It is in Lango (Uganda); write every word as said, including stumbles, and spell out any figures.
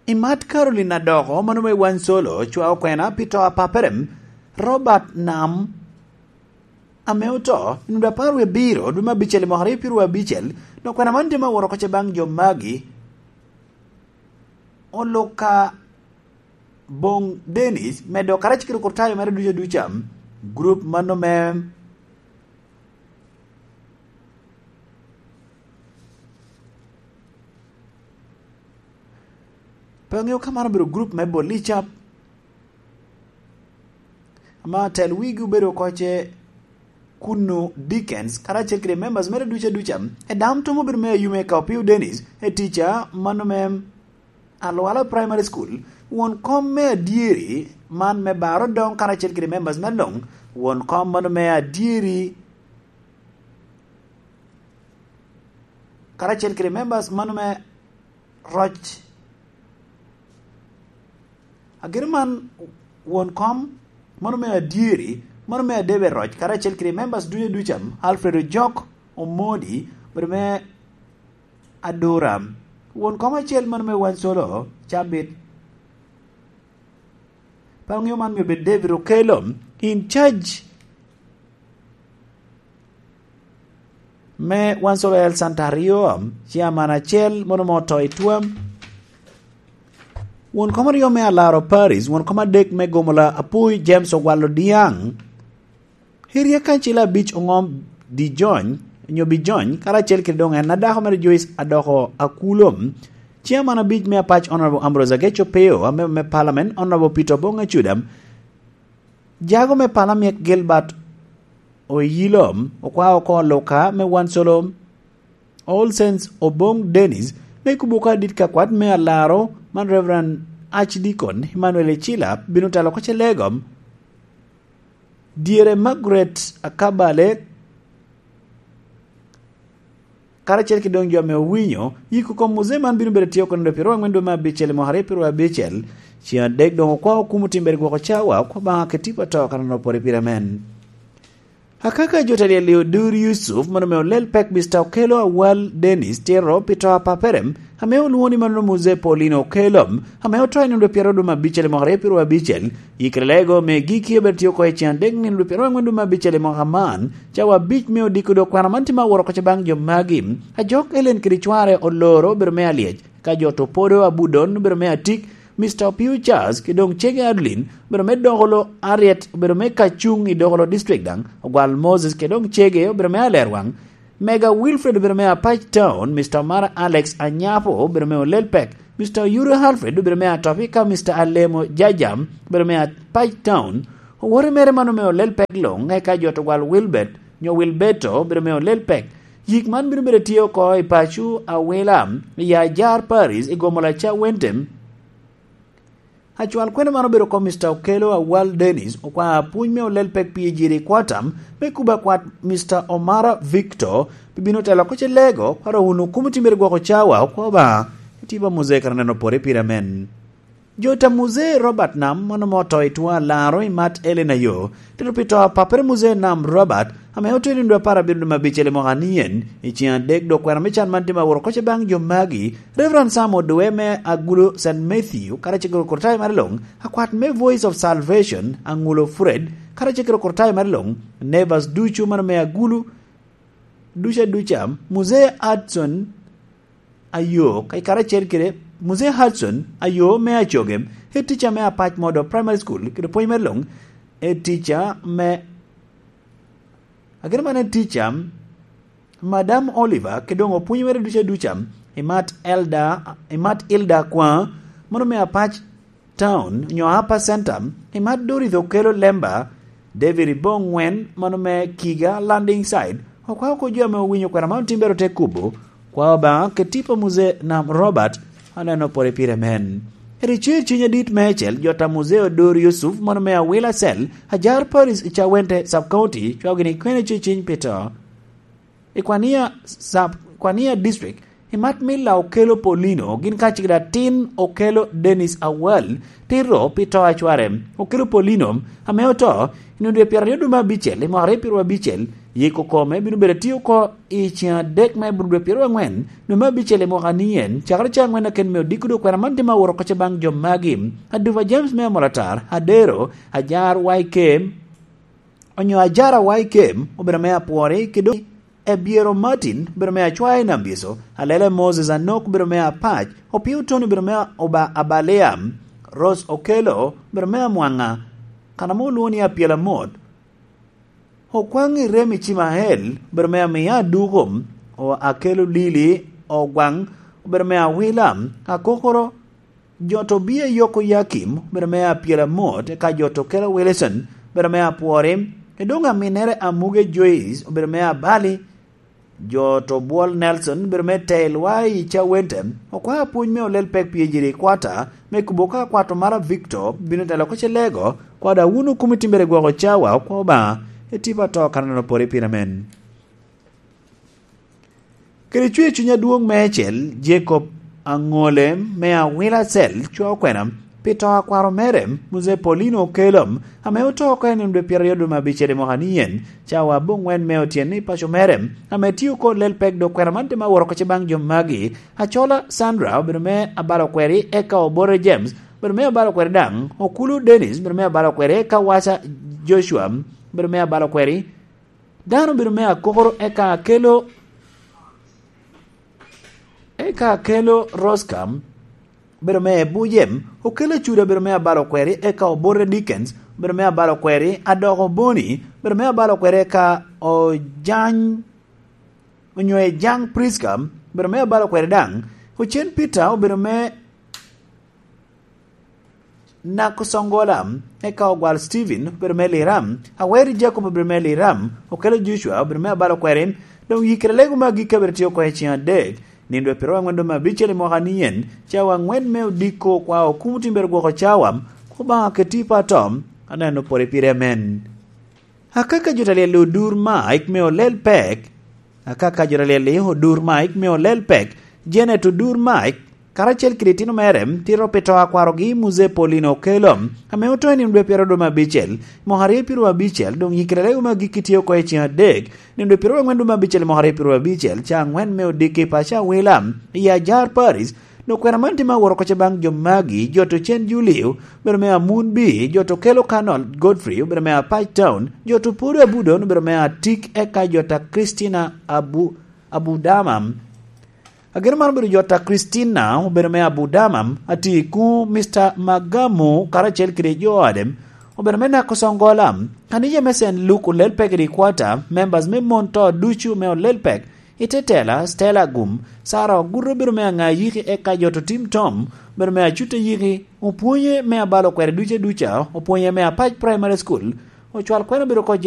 I mat Caroline Adoko, mano me Wan Solo, cwa okwena pi to a paperem, Robert Nam, ame oto i nino apar wie abiro, dwe me abicel i mwaka aryo pyeru abicel, dok kwena man tye ma woro oko ce baŋ jo magi. Oluka Bong Dennis, medo karacel kede okurtayo mere ducu aduca, gurup mano me pe ŋeo ka man obedo gurup me Bolica, ama tel wigi obedo oko ce Kunu Dickens, karacel kede members mere ducu aduca. Edam Tom obedo me Ayume ka Opio Dennis, e tica mano me Alwala Primary School, won kom me adyeri man me Baro Dong karacel kede members me Long, won kom mano me adyeri karacel kede members mano me Roc. Ageno man won kom mano me adyeri, mano me Adebe Roc, karacel kede members ducu aduca, Alfred Ojok Omodi, obedo me Adura. Won kom acel mano me Wan Solo, cabit. Pe aŋeo man myero bed David Okello, in charge me Wan Solo El Santa Rio, chairman acel, mono mo to i twam. Won kom aryo me Alaro Paris, won kom adek me Gomola Apui, James Ogwalo Diaŋ. Hiria kancil abic oŋom Dijony, onyo Bijony, karacel kede doŋ en adako mere Joyce Adoko Akulom. Chairman abic me apac Honorable Ambrose Ageco Peo, amemba me Parliament Honorable Peter Obong Acudam, jago me Parliament Gilbert Oyilom, okwao oko Luka me Wan Solo, All Saints Obong Dennis, me kubo ka dit ka kwat me Alaro man Reverend Archdeacon Emmanuel Ecila bino telo oko ce Legom. Dyere Margaret Akabale, karacel ki doŋ jo ame owinyo, yiko kom muzee man bino bedo tye oko nino pyeru aŋwen dwe me abicel i mwaka aryo pyeru abicel. Cen adek doŋ okwao kumo timbere gwoko cawa, okwa Obaŋa kede tipo ato kan onopore pire amen. Akaka jo ta lyel i Odur Yusuf, mano me olel pek Mister Okello Awal Dennis tito pi to a papere, ame olwoŋo ni mano Muzee Paulino Okello, ame oto i nino dwe pyero dwe me abicel i mwaka aryo pyeru abicel, yikere lego me giki obedo tye oko i cen adek nino dwe pyero aŋwen dwe me abicel i mwaka man, cawa abic me odiko dok kwena man tye ma woro oko ce baŋ jo magi. Ajok Ellen kede cware oloro obedo me alyec, ka jo to podo Abudon obedo me atik, Mister Opio Charles, ki doŋ cege Adeline, obedo me Dokolo Harriet, obedo me Kacuŋ i Dokolo District daŋ, Ogwal Moses, ki doŋ cege, obedo me Alerwaŋ, Mega Wilfred, obedo me Apac Town, Mister Omara Alex Anyapo, obedo me Olelpek, Mister Oyudo Alfred, obedo me Atopi, ka Mister Alemo Jajam, obedo me Apac Town, owote mere mano me Olelpek luŋ, eka jo to Ogwal Wilbert, nyo Wilberto, obedo me Olelpek. Yik man bino bedo tye oko i paco Awila, i Ajar Paris, i Gomola Cawentem. Acwal kwene man obedo oko Mister Okello Awal Dennis, okwa apuny me Olelpek P G D Kwatam, me kuba kwat Mister Omara Victor, pi bino telo oko ce Lego, kwaro wunu kumo timbere gwoko cawa, okwa Obaŋa, itiba Muzee kara neno pore pire amen. Jo ta Muzee Robert Nam, mano mo to i twa Laro i mat Ellen Ayo, tito pi to a papere Muzee Nam Robert, ame oto i nino dwe apar abiro dwe me abicel i mwaka anien, i cen adek dok kwena me can man tye ma woro oko ce baŋ jo magi, Reverend Sam Odoe me Agulo Saint Matthew, karacel kede okurtayo mere luŋ, akwat me Voice of Salvation, Aŋulo Fred, karacel kede okurtayo mere luŋ, Nevers ducu mano me Agulo, duca duca, Muzee Hudson Ayo, ka-, karacel kede Muzee Hudson Ayo me Acogem, head teacher me Apac Modo Primary School, kede pwony mere luŋ, head teacher me, ageno man head teacher, Madam Oliver, kede doŋ opwonyo mere duca duca, i mat Elder, i mat Elder Kwa, mano me Apac Town, nyo Upper Center, i mat Dorothy Okello Lemba, David Ibong Wen, mano me Kiga Landing Site, okwa oko jo ame owinyo kwena man otimbere ote kubo, kwa Obaŋa kede tipo Muzee Nam Robert, aneno pore pire men. Eri cer ciny adit me ecel, jo ta Muzee Odur Yusuf, mano me Awila Cell, Ajar Paris i Cawente Sub County, cwao gini kwene cer ciny pi to. I Kwania Sub, Kwania District, i mat Milla Okello Paulino, gin kacel kede atin Okello Dennis Awal, tito pi to a cware. Okello Paulino, ame oto, i nino dwe pyeraryo dwe me abicel, i mwaka aryo pyeru abicel, Yiko kome bino bedo atye oko i ceng adek me Abril dwe pyeraryo angwen, dwe me abicel i mwaka ni en, cakere ceng angwen aken me odiko dwe kwena man tye ma woro kocce baŋ jo magi: Adupa James me Amolatar, Adero, Ajar Waikem, onyo Ajara Waikem, obedo me apwori, kede Ebiero Martin, obedo me acwae i Nambiso, Alele Moses Anok, obedo me apac, Opio Tony, obedo me oba abalia, Rose Okello, obedo me amwaŋa, kan ame olwoŋo ni Apyelamot, Okwaŋ Irem Icimael, obedo me amia aduko, o-, Akello Lili Ogwaŋ, obedo me awila, Akokoro, jo Tobia Yoko Yakim, obedo me Apyelamot, eka jo Tokelo Wilson, obedo me apwori, edoŋ aminere Amuge Joyce, obedo me abali, jo Tobwol Nelson, obedo me tel wa i Cawente, okwa apwony me olel pek pi ejiri kwata, me kubo ka kwato mara Victor, bino telo ko celego, kwada wunu kumi timbere gwoko cawa, okwa Obaŋa, etipa to kanano pore pire amen. Kede cwer cuny adwoŋ meicel, Jacob Aŋole me Awila Cell cwa okwena pi to a kwaro mere, Muzee Paulino Okello, ame oto oko i nino dwe pyeraryo dwe me abicel i mwaka ni en, cawa aboŋwen me otyeno i paco mere, ame tye oko lel pek dok kwena man tye ma woro kece baŋ jo magi: Acola Sandra obedo me abalo kweri, eka Obote James obedo me abalo kweri daŋ, Okulu Dennis obedo me abalo kweri, eka Waca Joshua obedo me abalo kweri, dano obedo me Akokoro, eka Akello, eka Akello Roscam obedo me Ebujem, Okello Cuda obedo me abalo kweri, eka Obote Dickens obedo me abalo kweri, Adoko Boni obedo me abalo kweri, eka Ojany, onyo Ejang Prisca obedo me abalo kweri daŋ, Ocen Peter obedo me Nako Songola, eka Ogwal Steven obedo me Liram, Aweri Jacob obedo me Liram, Okello Joshua obedo me abalo kweri, doŋ yikere lego me agikki abedo tye oko i ceng adek, nino dwe pyeraryo aŋwen dwe me abicel i mwaka ni en, cawa aŋwen me odiko kwa okumo timbere gwoko cawa, Obaŋa keti i pato, aneno pore pire amen. Akaka jo ta lyel-li Odur Mike me olel pek. Akaka jo ta lyel-li Odur Mike me olel pek. Janet Odur Mike, karacel kede itino mere, tito pi to a kwarogi Muzee Paulino Okello, ame oto i nino dwe pyeraryo dwe me abicel, mwaka aryo pyeraryo abicel, doŋ yikere lego me agikki tye oko i ceng adek, nino dwe pyeraryo aŋwen dwe me abicel, mwaka aryo pyeraryo abicel, ca aŋwen me odiki i paco Awila, i Ajar Paris, dok kwena man tye me aworo kocce baŋ jo magi, jo to cen Julio, obedo me Amun B, jo to Kelo Kanol Godfrey, obedo me Apac Town, jo to Podo Abudon, obedo me Atik, eka jo ta Christina Abu-, Abudama. Ageno man obedo jo ta Christina, obedo me Abudama, Atiku, Mister Magamu, karacel kede jo ode, obedo me Nako Songola. Kanija me Saint Luke olel peke di kwata, members me mon to ducu me olel pek, i te tela, Stella Agum, Sara Oguto obedo me aŋa yiki, eka jo to Tim Tom obedo me acut a yiki, opwonye me abalo kweri duca duca, opwonye me Apac Primary School, ocwal kwena obedo oko